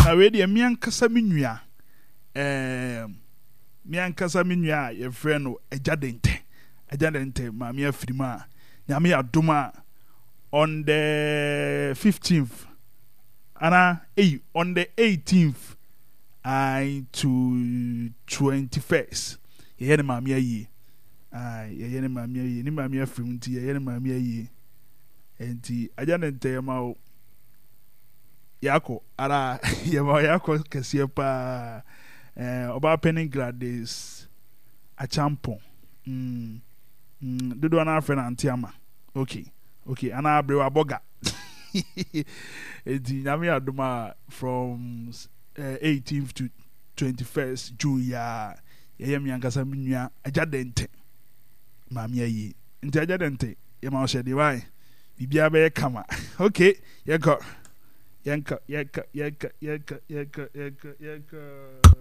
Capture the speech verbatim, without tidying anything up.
Na wei deɛ, me ankasa me nua, ɛɛm, me ankasa me nua a yɛfrɛ no Agya Dente, Agya Dente maame afiri mu a, Nyame yɛ adom a, on the fifteenth ana eyi, on the eighteenth I to twenty-first, yɛyɛ ne maame ayie. Aye, yɛyɛ ne maame ayie. Ne maame afiri mu nti yɛyɛ ne maame ayie. Nti Agya Dente, yɛma wo yɛakɔ ara, yɛma wo yɛakɔ kɛseɛ paa. ɛɛ ɔbaa panin Gladys Achampɔn, mm, mm, dodoɔ no afrɛ no Ante Ama. okay okay anaa aberewa bɔga. Nti Nyame adom a, from uh, eighteenth to twenty-first June yi a, yɛyɛ me ankasa me nua Agya Dente maame ayie. Nti Agya Dente, yɛma wo hyɛ deɛ wae, biribiara bɛyɛ kama. Okay, yɛnkɔ, yɛnkɔ, yɛnkɔ, yɛnkɔ, yɛnkɔ, yɛnkɔ, yɛnkɔ, yɛnkɔ.